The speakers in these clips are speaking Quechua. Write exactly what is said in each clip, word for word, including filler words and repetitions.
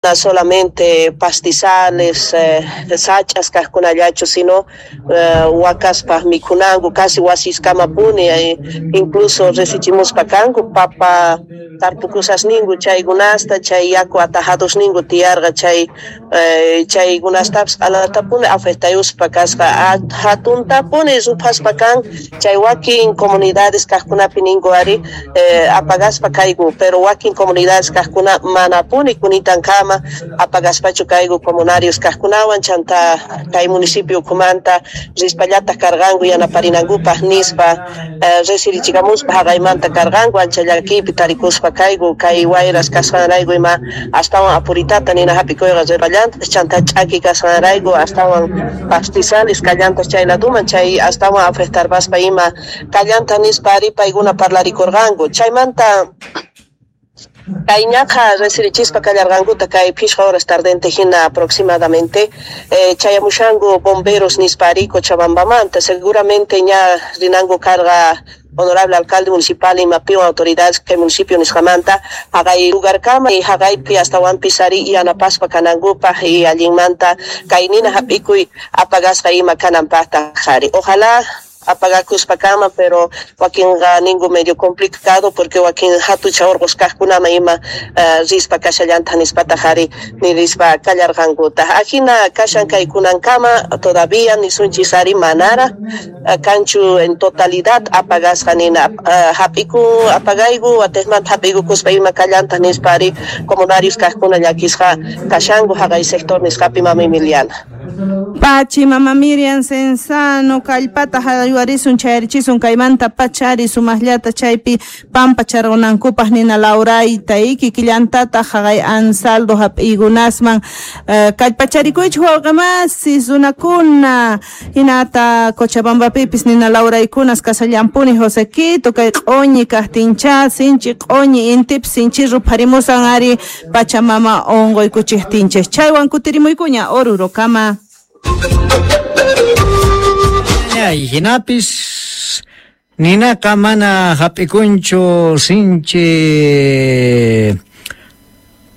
Solamente pastizales, eh, sach'as kaqkunallachu, sino eh, wakaspaq mikhunanku casi wasiskamapuni, eh, incluso resichimuspa kanku papa tarpukusasninku chaykunasta, chay yaku atajadosninku tiyarqa chay eh, chaykunastapis q'alatapuni afectayuspa kasqa, hatuntapuni ruphaspa kan. Chay wakin comunidades kaqkunapi ninku ari eh, apagaspa kayku, pero wakin comunidades kaqkuna manapuni kunitankama apagaspachu kayku. Comunarios kaqkunawan chanta kay municipio ukhumanta rispallataq karqanku yanaparinankupaq nispa eh, resirichikamuspa haqaymanta karqanku. Ancha llakiypi tarikuspa kayku kay wayras kasqanrayku ima astawan apuritata nina hap'ikuyqa rirqallantaq, chanta ch'aki kasqanrayku astawan pastizales kallantaq chay laduman, chay astawan afectarpaspa ima kallanta nispa ari paykuna parlarikurqanku. Chaymanta kay ñaqa resirichispa kallarqankuta kay phishqa horas tardente hina aproximadamente eh, chayamushanku bomberos nispa ari Cochabambamanta. Seguramente ña rinanku karqa honorable alcalde municipal imapiwan autoridades kay municipio nisqamanta haqay lugarkama y haqaypi astawanpis ari yanapaspa kanankupaq y allinmanta kay nina hap'ikuy apagasqa ima kananpaqtaq ari. Ojalá apagakuspa kanman, pero wakinqa ninku medio complicado porque wakin hatucha urqus kaqkunaman ima uh, rispa kashallantaq nispataq ari nirispa kallarqankutaq. Ajina kashan kay kunankama, todavía nisunchis ari manara uh, kanchu en totalidad apagasqa nina uh, hap'iku apagayku, watejmanta hap'ikukuspa ima kallantaq nispa ari comunarios kaqkuna llakisqa kashanku haqay sector nisqapi, mama Emiliana. Pachi, mama Miriam Cenzano, kallpata haywarisun, chayarichisun kaymanta pachari sumaqllata chaypi pampa charqunankupaq nina lawrayta kikillantataq haqay Ansaldo hap'iykunasman uh, kallpacharikuychik wawqi runakuna. Hinata Cochabambapipis nina lawraykunas kasallampuni, Josequito, kay q'uñi kaqtincha, sinchi q'uñi intipis sinchi rupharimusan ari Pachamama unquykuchiqtinchik. Chaywan kutirimuykuña Orurokama. Ay, hinapis ninaqa mana hap'ikunchu sinchi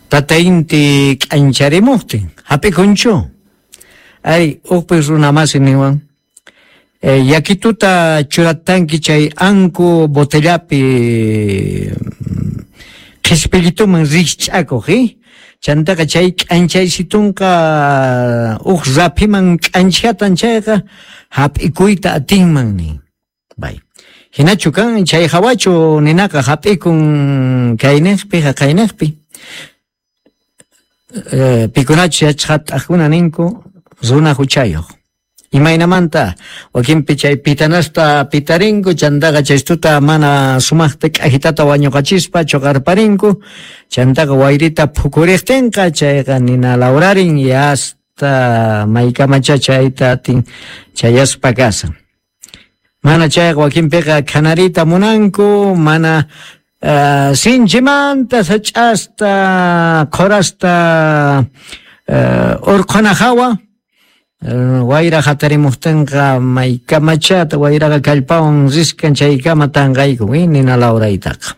tata inti k'ancharimuqtin, hap'ikunchu? Ay, ukpis runa masi niwan eh, yakituta churatanki chay anku botellapi qhispillituman rikch'akuq, eh? Chantaqa chay k'anchaysitunqa uq raphiman k'anchatan chayqa hap'ikuyta atinman nin. Bay. Hinachu kan chay hawachu ninaqa hap'ikun kayniqpi haqayniqpi? Eh, pikunachu yachaqat'aqkuna ninku runa huchayuq. Imaynamanta wakinpi chay pitanasta pitarinku, chantaqa chaystuta mana sumaqta k'ajitata wañuqachispa chuqarparinku, chantaqa wayrita phukuriqtinqa chayqa nina lawrarin y hasta maykamacha chayta atin chayaspa kasan. Mana chayqa wakinpiqa khanarita munanku, mana uh, sinchimanta sach'asta qhurasta uh, urqhuna hawa wayra hatarimuqtinqa maykamachata wayraqa kallpawan riskan chaykama tanqayku nina lawraytaqa.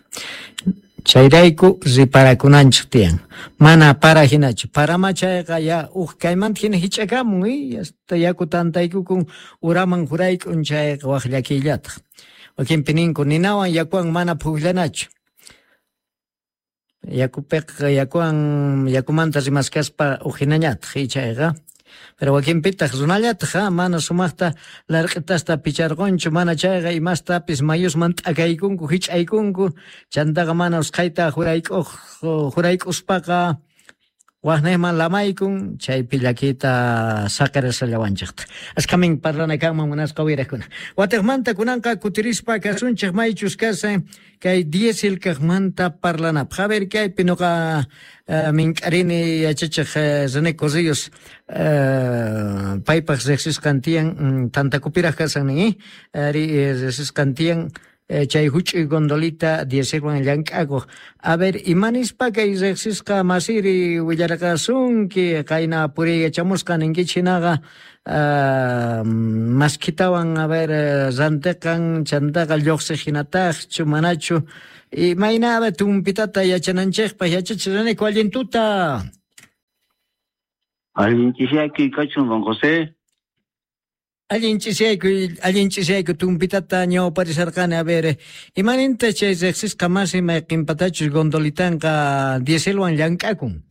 Chayrayku riparakunanchik tiyan. Mana para hinachu. Parama chayqa ya uq kaymanta hina hich'akamun, hasta yaku tantaykukun uraman hurayk'un, chayqa waq llakillataq. Wakinpi ninku ninawan yakuwan mana pukllanachu. Yakupiqa yakuwan yakumanta rimaskaspa uq hinañataq chayqa. Pero wakinpitaq runallataq mana sumaqta larq'itasta picharqunchu, mana chayqa imastapis mayusman t'akaykunku, hich'aykunku, chantaqa mana usqhayta hurayk'uq hurayk'uspaqa waqniqman lamaykun, chaypi llakiyta saqirasallawanchikta. Askhamin parlana kanman, munasqa uyariqkuna. Watiqmanta kunanqa kutirispa kasunchik maychus kasan kay diésel kaqmanta parlanapaq. A ver, kaypi nuqa uh, mink'arini yachachiq uh, René Corrillos uh, paypaq riqsisqan tiyan mm, tantakupiraq kasan nin, ari riqsisqan tiyan chay huch'uy gondolita dieselwan llank'akuq. A ver, imanispa kay riqsisqa masiri willarqasunki qayna puriy yachamusqa ninkichik hinaqa uh, maskitawan, a ver, rantiqan chantaqa lluqsiq hinataqchu manachu imayna tumpitata yachananchikpaq? Yachachiq René, allintuta. Allin ch'isiyaykuy kachun, don José. Allin ch'isiyaykuy, allin ch'isiyaykuy tumpitata ñawparisharqani. A ver, imaninta chay riqsisqa masi mayqinpatachus gondolitanqa dieselwan llank'akun?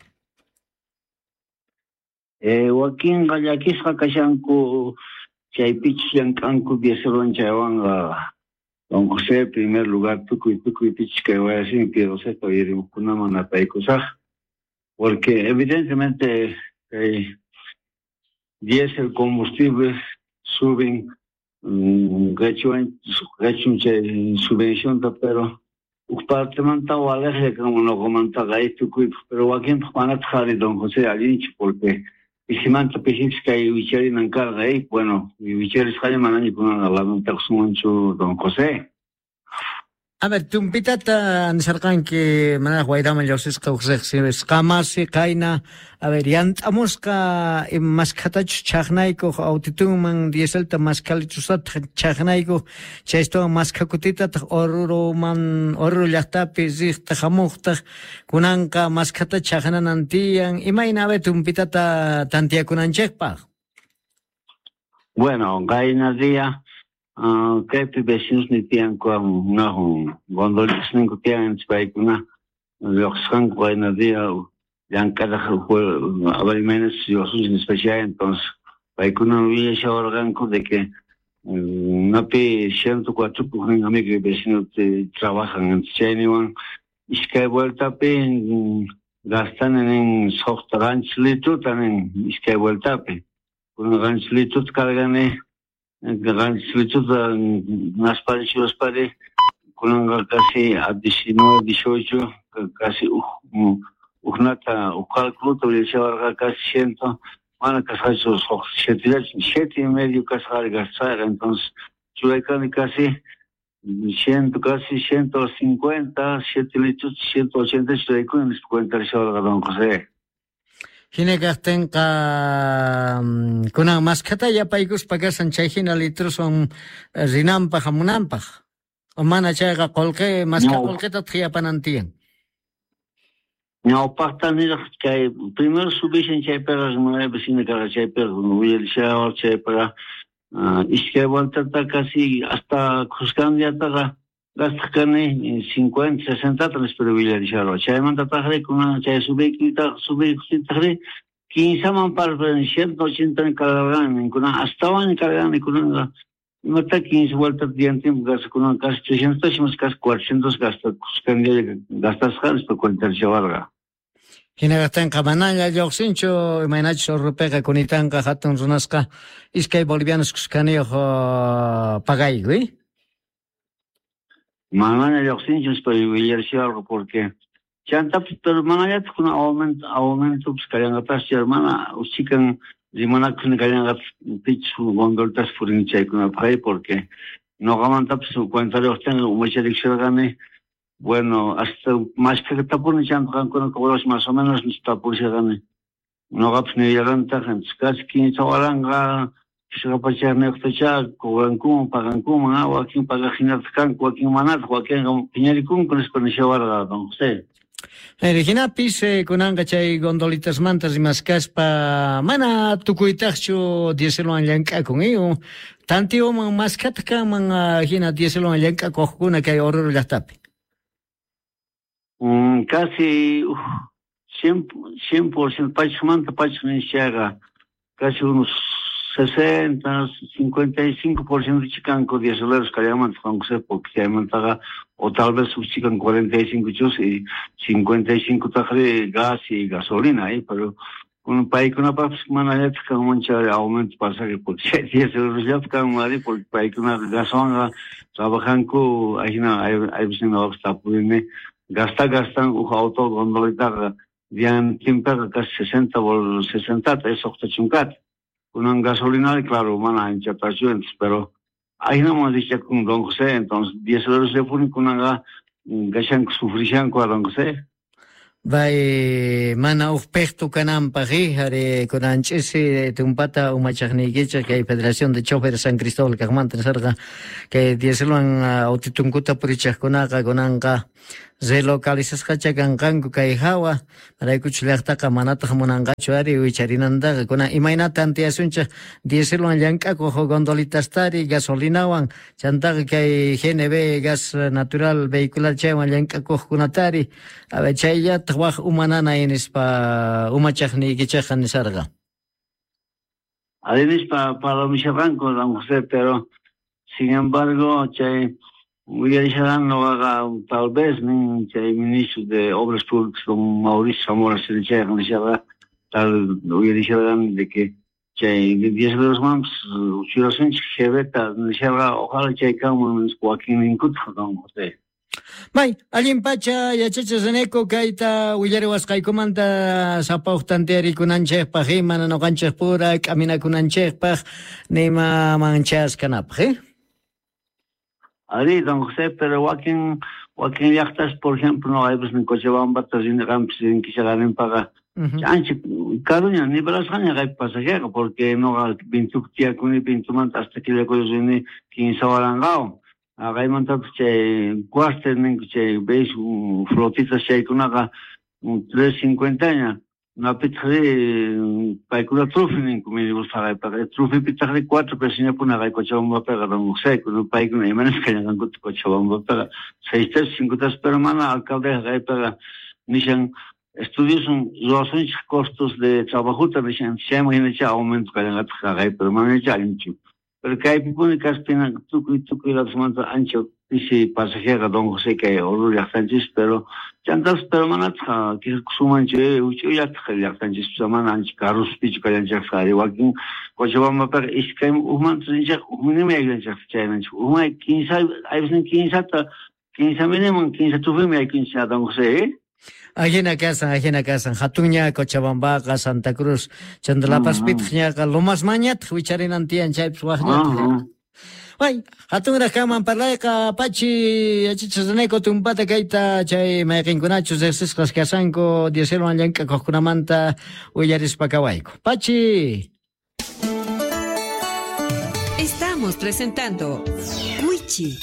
Eh, wakinqa llakisqa kashanku chaypichus llank'anku dieselwan chaywanqa. Don José, primer lugar, tukuy tukuy pichus kay wayasin Piedoseta uyarimuqkunaman napaykusaq, porque evidentemente kay diésel combustible suben qechwan qechun chay subvencionta, pero huk partemanta waliqlla kanman nuqamantaqa tukuypaq, pero wakinpaq manataq ari, don José, allinchu, porque pisimanta pisipis kay wicharinan karqa, eh, bueno, wicharisqalla manaña kunanqa lamentakusunmanchu, don José. A ver, tumpitata nisarqanki manaraq wayraman lluqsisqa huk riqsisqa masi qayna, a ver, yant'amusqa maskhatachus chaqnaykuq autitunman dieselta maskhalichusataq chaqnaykuq chaystuwan maskhakutitataq Oruroman Oruro llaqtapi riqtaq hamuqtaq kunanqa maskhata chaqnanan tiyan. Imayna, a ver, tumpitata tantiyakunanchikpaq? Bueno, qayna día Uh, kaypi vecinos ni tiyanku unahun gondolitas ninku tiyan paykuna lluqsisqanku qayna día llank'araq a ver imaynas lluqsinchis nispa chay. Entonces paykuna willashawarqanku de que napi ciento cuatro huknin amigo y vecino trabajan, chayniwan iskay vueltapi gastani nin suqta qanchis litruta nin iskay vueltapi, kunan qanchis litruta cargani, qanchis litruta naspari churaspari kunanqa casi a diecinueve, dieciocho, casi uknata huk cálculo willashawarqa casi ciento mana kasqachu suqta siete siete y medio kasqari gastasqa. Entonces churaykani casi ciento casi ciento cincuenta siete litros ciento ochenta churaykuni nispa cuenta don José. Hina kaqtinqa kunan maskhata yapaykuspa kasan chay hina litroswan rinanpaq hamunanpaq, o mana chayqa qullqi maskha qullqitataq yapanan tiyan. Ñawpaqta niraq kay primero subishan chaypiqa nueve vecino karqa chaypiqa willarishawar chaypiqa iskay vueltata casi hasta khuskan diataqa gastaq kani cincuenta, sesentata nispa willarishawar. Chaymantataqri kunan chay subiykitaq subiykutaqri quinceman parpan ciento ochenta cargarqani kunan astawan cargani kunanqa imata quince vueltas diantin gasta kunan casi trescientos casi cuatrocientos gasta khuskan día gastasqa nispa cuentashawarqa. Hina kaqtinqa manaña lluqsinchu imaynachus Oruropiqa kunitanqa hatun runasqa iskay bolivianos khuskaniyuq pagayku, eh? Manaña lluqsinchu nispa willarishawalqa, porque chantapis pero manallataq kunan aumento aumentopis kallanqataqchu, mana uchikan rimanakuq kallanqataq pichus gondolitas purin chaykunapaq, porque nuqamantapis cuentariyuqtinqa umacharikshirqani. Bueno, hasta maskhakatapuni chanta qankuna cobrash más o menos nistapurishaqani nuqapis nillarqantaq casi quince waranqa pishqa pachaqniyuqtacha cobrankuman pagankuman, wakin pagaq hinataq kanku wakin manataq, wakinqa phiñarikunku nispa nishawarqa don José. Hinapis kunanqa chay gondolitasmanta rimaskaspa mana tukuytaqchu dieselwan llank'akun, eh? Tantiyuman maskhataq kanman hina dieselwan llank'akuqkuna kay Oruro llaqtapi. Mm, casi uh, cien por ciento pachmanta pachaq nishaqa casi unos sesenta, cincuenta y cinco por ciento chikanku dieseleros kallamanta Juan José, porque chaymantaqa o tal vez chikan cuarenta y cinco chus y cincuenta y cinco taqri gas y gasolina, eh, pero kun paykunapaqpis manallataq kanman chay aumento pasaje, porque chay dieseleros kanman ari, porque paykuna gaswanqa trabajanku ahina aypis nuqapis tapurini gasta gastan huk auto gondolitaqa diantinpiqa casi sesenta bol sesentata suqta chunkata kunan gasolina claro mana anchatachu, pero ahinaman richakun don José. Entonces dieseleros llapuni kunanqa gashanku sufrishanku a don José. Bay mana huk peqtu kananpaq, ari kunan ch'isi tumpata umachaqniykichik kay Federación de Choferes San Cristóbal kaqmanta nisarqa kay dieselwan autitunkuta purichaqkunaqa kunanqa Relocalizasqacha kanqanku kay hawa, maraykuchu llaqtaqa manataq munanqachu ari wicharinantaqa. Kunan imaynata tantiyasunchik dieselwan llank'akuq gondolitastari gasolinawan chantaqa kay G N V gas natural vehicular chaywan llank'akuqkunatari chayllataq waq umanana nispa umachaqniykichikqa nisarqa. Ari nispa parlamisharqanku don José, pero sin embargo chay uyarisharán noqaqa tal vez nin chay ministro de Obras Públicas don Mauricio Zamora chayqa nisharqa tal uyarisharán de que chay diez manpas churasunchik G B-ta nisharqa ojalá chay kanman wakinninkutaq don José. May, allin pacha yachachi Reneco kayta willariwasqaykumanta sapa uq tantiyarikunanchikpaq mana ñuqanchikpura k'aminakunanchikpaq nima manchaskanapaq, eh? Ari, don José, pero wakin wakin llaqtas, por ejemplo, no hay pues en Cochabamba rinqanpis rinkisharinpaqa ancha karuña nivelasqaña kay pasajeqa porque noqa Pintupi tiyakuni Pintumanta hasta Quillacollo rini kinsa waranqawan. Kaymantapas chay cuartel ninku chay veis flotitas chaykunaqa tres cincuentaña napitaqri paykuna trufi ninku minibus haqaypaqa trufipitaqri cuatro pesoñapuna kay Cochabambapiqa don José paykuna imanasqa kallanqankuta Cochabambapiqa seis pesos cinco pesos pero mana alcaldeqa kaypiqa nishan estudiosun ruwasunchik costos de trabajota nishan chayman hinacha aumento kallanqataq haqaypi pero manacha allinchu. Pero kaypipuni kaspina tukuy tukuy ladosmanta ancha pisi pasajeqa don José kay Oruro llaqtanchis pero chantas pero manataq quejakusunmanchu huch'uyllataq llaqtanchis mana ancha karuspichu kallanchikqa ari wakin Cochabambapiqa iskay hukmanta rinchikqa hukninmi aykunchikqa chaymanchik hukman kinsa aypusnin kinsata kinsa miniman kinsa tufimi aykunchik don José, eh? Ajina kasan, ajina kasan, hatunña Cochabambaqa, Santa Cruz, chanta La Pazpitaq ñaqa Lomasmañataq wicharinan tiyan chaypis waqñataq. Ay, hatunraq kanman parlayqa pachi yachachiq Reneco tumpata kayta chay mayqinkunachus riqsisqas kasanku dieselwan llank'akuqkunamanta willarispa kawayku. Pachi. Estamos presentando Wichi.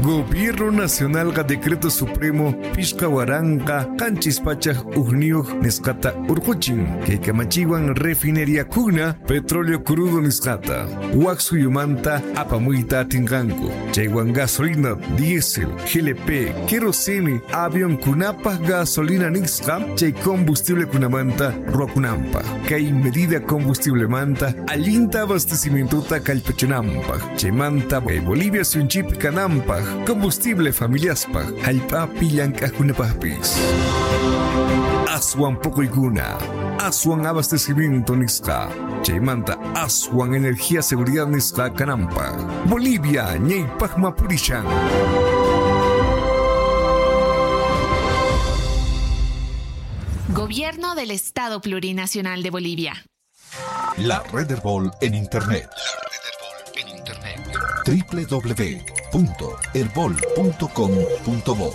Gobierno Nacional ga Decreto Supremo Pishka Waranqa Qanchis Pachaq Ujniyuq nisqata urquchin kay kamachiwan refinería kuna petróleo crudo nisqata wak suyumanta apamuyta atinqanku chaywan gasolina diésel G L P kerosene avión kunapaq gasolina nisqa chay combustible kunamanta ruwakunanpaq kay medida combustiblemanta allinta abastecimientota kallpachinanpaq chaymanta kay Bolivia suyunchikpi kananpaq combustible familiaspaq hallp'api llank'aqkunapaqpis. Aswan puquykuna, aswan abastecimiento nisqa, chaymanta aswan energía seguridad nisqa kananpaq. Bolivia ñaypaqma purishan. Gobierno del Estado Plurinacional de Bolivia. La Red Herbol en Internet. La Red Herbol en Internet. doble u doble u doble u punto herbol punto com punto bo.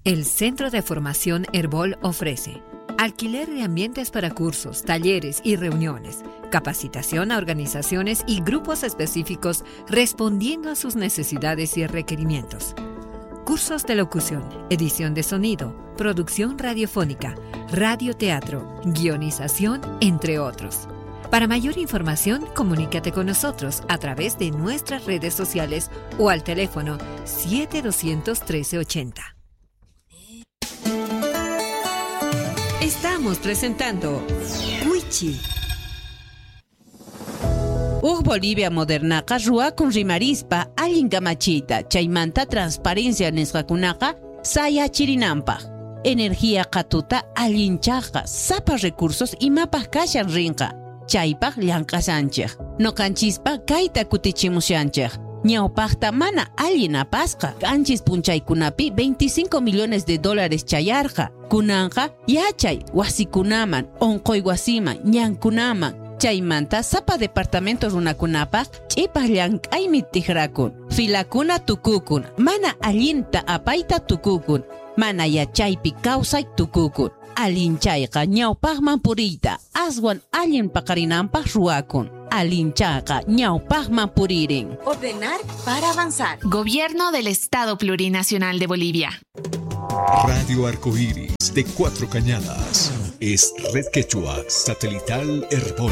El Centro de Formación Herbol ofrece alquiler de ambientes para cursos, talleres y reuniones, capacitación a organizaciones y grupos específicos respondiendo a sus necesidades y requerimientos. Cursos de locución, edición de sonido, producción radiofónica, radioteatro, guionización, entre otros. Para mayor información, comunícate con nosotros a través de nuestras redes sociales o al teléfono siete dos uno tres ochenta. Estamos presentando Wichi. Uj Bolivia modernaqa ruwakun rimarispa allin kamachiyta chaymanta transparencia nisqakunaqa sayachirinanpaq. Energía qhatuta allinchaqqa sapa recursos imapaq kashan rinqa. Chaypaq llank'asanchik. Noqanchispa kayta kutichimushanchik. Ñawpaqta mana allin apasqa. Qanchis punchaykunapi veinticinco millones de dólares chayarqa. Kunanqa yachay wasikunaman, onqoy wasiman, ñankunaman. Chaymanta sapa departamento runakunapaq ch'ipaq llank'aymi tijrakun. Filakuna tukukun, mana allinta apayta tukukun, mana yachaypi kawsay tukukun. Allinchayqa ñawpaqman puriyta aswan allin paqarinanpaq ruwakun. Allinchayqa ñawpaqman puririn. Ordenar para avanzar. Gobierno del Estado Plurinacional de Bolivia. Radio Arcoíris de Cuatro Cañadas es Red Quechua Satelital Herbol.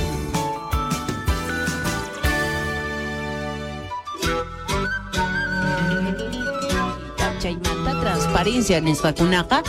Chaymanta transparencia nisqakunaqa